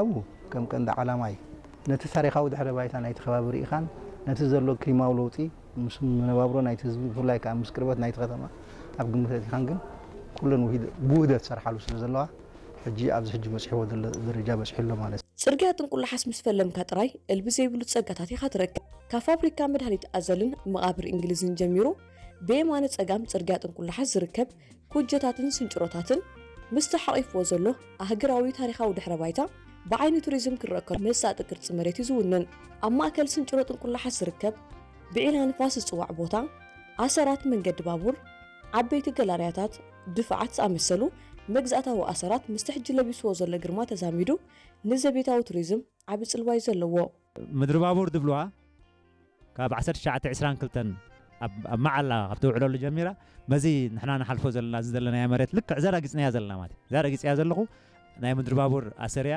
ኣብኡ ከም ቀንዲ ዓላማ እዩ። ነቲ ታሪኻዊ ድሕረ ባይታ ናይቲ ከባቢ ርኢኻን ነቲ ዘሎ ክሊማዊ ለውጢ ምስ መነባብሮ ናይቲ ህዝቢ፣ ብፍላይ ከዓ ምስ ቅርበት ናይቲ ከተማ ኣብ ግምት ኣእቲኻን ግን ኩለን ውሂድ-፣ ብውህደት ዝሰርሓሉ ስለ ዘለዋ ሕጂ ኣብዚ ሕጂ በፂሕዎ ዘሎ ደረጃ በፂሑ ኣሎ ማለት እዩ። ጽርግያ ጥንቁላሓስ ምስ ፈለምካ ጥራይ እልቢ ዘይብሉ ጸጋታት ኢኻ ትረክብ። ካብ ፋብሪካ መድሃኒት ኣዘልን መቓብር እንግሊዝን ጀሚሩ ብየማነ ጸጋም ጽርግያ ጥንቁላሓስ ዝርከብ ኩጀታትን ስንጭሮታትን ምስቲ ሓቒፍዎ ዘሎ ኣህግራዊ ታሪኻዊ ድሕረ ባይታ ብዓይኒ ቱሪዝም ክረአ ከሎ መሳጢ ቅርጺ መሬት እዩ ዝውንን። ኣብ ማእከል ስንጭሮ ጥንቁላሓስ ዝርከብ ብዒላ ንፋስ ዝጽዋዕ ቦታ፣ ኣሰራት መንገዲ ባቡር፣ ዓበይቲ ገላርያታት፣ ድፋዓት ዝኣመሰሉ መግዛእታዊ ኣሰራት ምስቲ ሕጂ ለቢስዎ ዘሎ ግርማ ተዛሚዱ ንዘቤታዊ ቱሪዝም ዓቢ ጽልዋ እዩ ዘለዎ። ምድሪ ባቡር ድብልዋ ካብ ዓሰርተ ትሽዓተ ዕስራን ክልተን ኣብ ኣብ መዓላ ካብ ትውዕለሉ ጀሚራ በዚ ንሕና ንሓልፎ ዘለና እዚ ዘለናዮ መሬት ልክዕ እዛ ረጊጽናያ ዘለና ማለት እዩ። እዛ ረጊጽያ ዘለኹ ናይ ምድሪ ባቡር ኣሰርያ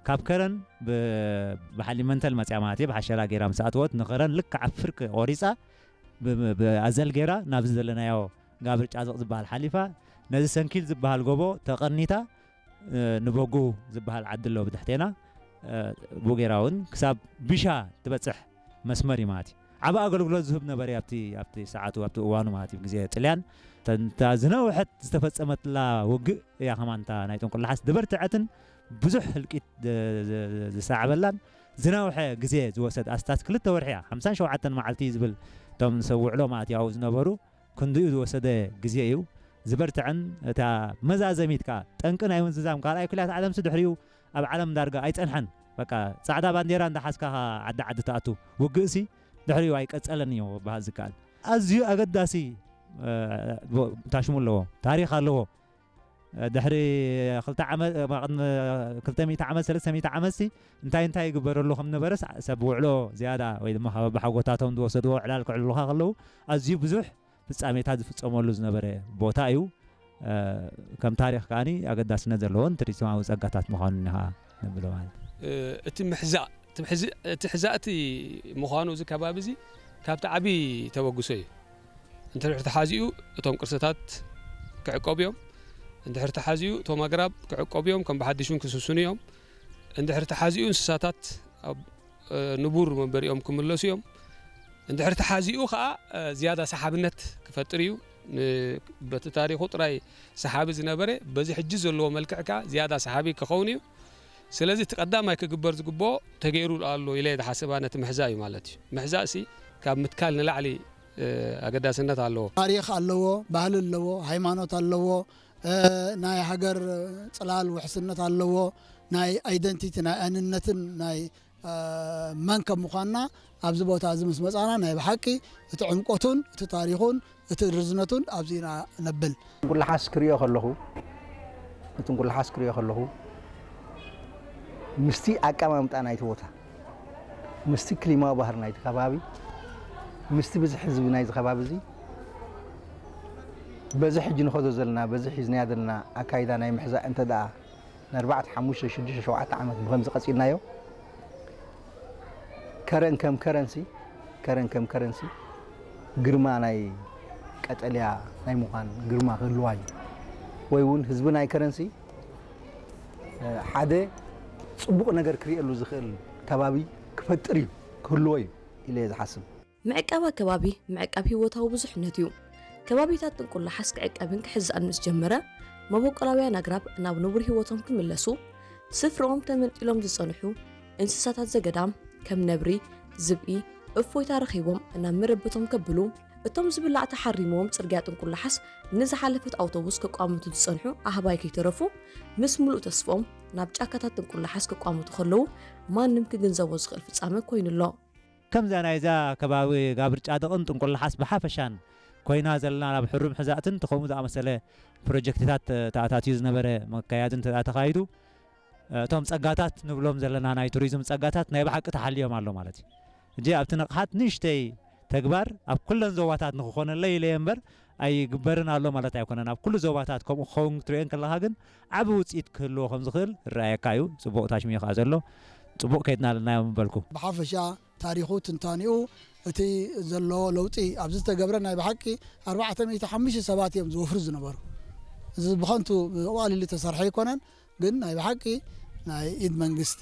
ካብ ከረን ብ-፣ ብሓሊ መንተል መጽያ ማለት እዩ። ብሓሸራ ገይራ ምስ ኣትወት ንኸረን ልክዕ ኣብ ፍርቂ ቆሪጻ ብ-፣ ብ-፣ ብኣዘል ገይራ ናብዚ ዘለናዮ ጋብር ጫዝቕ ዝበሃል ሓሊፋ ነዚ ሰንኪል ዝበሃል ጎቦ ተቐኒታ እ፣ ንበጉ ዝበሃል ዓዲ ኣሎ ብትሕቴና። እ፣ ብኡ ገይራ እውን ክሳብ ቢሻ ትበፅሕ መስመር እዩ ማለት እዩ። ዓቢ ኣገልግሎት ዝህብ ነበረ ኣብቲ ኣብቲ ሰዓቱ ኣብቲ እዋኑ ማለት እዩ። ግዜ ጥልያን ተንታ ዝነውሐት ዝተፈጸመትላ ውግእ እያ። ከማን እታ ናይ ጥንቁላሓስ ዝበርትዐትን ብዙሕ ህልቂት ዝ-፣ ዝ-፣ ዝሰዓበላን ዝነውሐ ግዜ ዝወሰድ ኣስታት ክልተ ወርሒ እያ። ሓምሳን ሸውዓተን መዓልቲ ዝብል እቶም ሰብ ውዕሎ ማለት እዩ ኣብኡ ዝነበሩ ክንድኡ ዝወሰደ ግዜ እዩ። ዝበርትዐን እታ መዛዘሚት ከኣ ጠንቂ ናይ ምዝዛም ካልኣይ ኩልያት ዓለምሲ ድሕሪኡ ኣብ ዓለም ዳርጋ ኣይጸንሐን። በቃ ጻዕዳ ባንዴራ እንዳሓዝካ ዓዲ ዓዲ ትኣቱ። ውግእሲ ድሕሪኡ ኣይቀጸለን እዩ ክበሃል ዝከኣል። ኣዝዩ ኣገዳሲ፣ እ፣ ታሽሙ ኣለዎ፣ ታሪኽ ኣለዎ። ድሕሪ ክልተ ዓመት፣ ቅድሚ ክልተ ሚእቲ ዓመት፣ ሰለስተ ሚእቲ ዓመትሲ እንታይ እንታይ ይግበረሉ ከም ነበረስ ሰብ ውዕሎ ዝያዳ ወይ ድማ ካብ ኣቦሓጎታቶም ዝወሰድዎ ዕላል ክዕልሉኻ ከለዉ ኣዝዩ ብዙሕ ፍጻሜታት ዝፍጸመሉ ዝነበረ ቦታ እዩ። እ፣ ከም ታሪኽ ከኣኒ ኣገዳስነት ዘለዎን ቱሪዝማዊ ጸጋታት ምዃኑን ኢኻ ነብሎ ማለት እዩ። እ፣ እቲ ምሕዛእ፣ እቲ ምሕዝ-፣ እቲ ሕዛእቲ ምዃኑ እዚ ከባቢ እዚ ካብቲ ዓቢ ተበግሶ እዩ። እንድሕር ተሓዚኡ እቶም ቅርስታት ክዕቀቡ እዮም። እንድሕር ተሓዚኡ እቶም ኣግራብ ክዕቀቡ እዮም፣ ከም ብሓድሽ እውን ክስስኑ እዮም። እንድሕር ተሓዚኡ እንስሳታት ኣብ፣ እ፣ ንቡር መንበሪኦም ክምለሱ እዮም። እንድሕር ተሓዚኡ ኸኣ፣ እ፣ ዝያዳ ሰሓብነት ክፈጥር እዩ። ን-፣ በቲ ታሪኹ ጥራይ ሰሓቢ ዝነበረ በዚ ሕጂ ዘለዎ መልክዕ ከኣ ዝያዳ ሰሓቢ ክኸውን እዩ። ስለዚ እቲ ቀዳማይ ክግበር ዝግብኦ ተገይሩ ኣሎ ኢለ እየ ዝሓስብ፣ ነቲ ምሕዛእ እዩ ማለት እዩ። ምሕዛእሲ ካብ ምትካል ንላዕሊ፣ እ፣ ኣገዳስነት ኣለዎ። ታሪኽ ኣለዎ፣ ባህሊ ኣለዎ፣ ሃይማኖት ኣለዎ፣ እ፣ ናይ ሃገር ጽላል ውሕስነት ኣለዎ፣ ናይ ኣይደንቲቲ፣ ናይ ኣንነትን ናይ፣ እ፣ መን ከም ምዃንና ኣብዚ ቦታ እዚ ምስ መጻና ናይ ብሓቂ እቲ ዕምቆቱን እቲ ታሪኹን እቲ ርዝነቱን ኣብዚ ኢና ነብል። ጥንቁላሓስ ክሪኦ ከለኹ፣ ንጥንቁላሓስ ክሪኦ ከለኹ ምስቲ ኣቀማምጣ ናይቲ ቦታ፣ ምስቲ ክሊማዊ ባህሪ ናይቲ ከባቢ፣ ምስቲ ብዝሒ ህዝቢ ናይዚ ከባቢ እዚ፣ በዚ ሕጂ ንኸዶ ዘለና፣ በዚ ሒዝናዮ ዘለና ኣካይዳ ናይ ምሕዛእ እንተ ደኣ ንኣርባዕተ፣ ሓሙሽተ፣ ሽዱሽተ፣ ሸውዓተ ዓመት ብኸምዚ ቀጺልናዮ፣ ከረን ከም ከረንሲ፣ ከረን ከም ከረንሲ ግርማ ናይ ቀጠልያ ናይ ምዃን ግርማ ክህልዋ እዩ። ወይ እውን ህዝቢ ናይ ከረንሲ፣ እ፣ ሓደ ጽቡቕ ነገር ክርእየሉ ዝኽእል ከባቢ ክፈጥር እዩ፣ ክህልዎ እዩ ኢለ እየ ዝሓስብ። ምዕቃብ ኣከባቢ ምዕቃብ ህይወታዊ ብዙሕነት እዩ። ከባቢታት ጥንቁላሓስ ክዕቀብን ክሕዛእን ምስ ጀመረ፣ መበቆላውያን ኣግራብ ናብ ንቡር ህይወቶም ክምለሱ፣ ስፍራኦም ተመንጢሎም ዝጸንሑ እንስሳታት ዘገዳም ከም ነብሪ፣ ዝብኢ፣ እፎይታ ረኺቦም ናብ መረበቶም ከብሉ፣ እቶም ዝብላዕ ተሓሪምዎም ጽርግያ ጥንቁላሓስ ንዝሓለፈት ኣውቶቡስ ክቋምቱ ዝጸንሑ ኣህባይ ከይተረፉ፣ ምስ ምሉእ ተስፍኦም ናብ ጫካታት ጥንቁላሓስ ክቋምቱ ከለዉ፣ ማንም ክግንዘቦ ዝኽእል ፍጻመ ኮይኑ ኣሎ። ከምዛ ናይዛ ከባቢ ጋብር ጫድቕን ጥንቁላሓስ ብሓፈሻን ኮይና ዘለና ናብ ሕሩም ሕዛእትን ከምኡ ዝኣመሰለ ፕሮጀክትታት ተኣታትዩ ዝነበረ መካያዲ እንተ ተኻይዱ፣ እቶም ጸጋታት ንብሎም ዘለና ናይ ቱሪዝም ጸጋታት ናይ ብሓቂ ተሓልዮም ኣሎ ማለት እዩ። ሕጂ ኣብቲ ንቕሓት ንእሽተይ ተግባር ኣብ ኩለን ዞባታት ንክኾነለይ ኢለ እየ እምበር ኣይግበርን ኣሎ ማለት ኣይኮነን። ኣብ ኩሉ ዞባታት ከምኡ ክኸውን ክትሪኦ እንከለኻ ግን ዓቢ ውጽኢት ክህልዎ ከም ዝኽእል ይረኣየካ እዩ። ጽቡቕ ታሽሚዩ ከኣ ዘሎ። ጽቡቕ ከይድና ኣለና እዮም ምበልኩ። ብሓፈሻ ታሪኹ፣ ትንታኔኡ፣ እቲ ዘሎ ለውጢ ኣብዚ ዝተገብረ ናይ ብሓቂ ኣርባዕተ ሚእቲ ሓሙሽተ ሰባት እዮም ዝወፍሩ ዝነበሩ። እዚ ብኸንቱ ብቐሊሉ ዝተሰርሐ ኣይኮነን፣ ግን ናይ ብሓቂ ናይ ኢድ መንግስቲ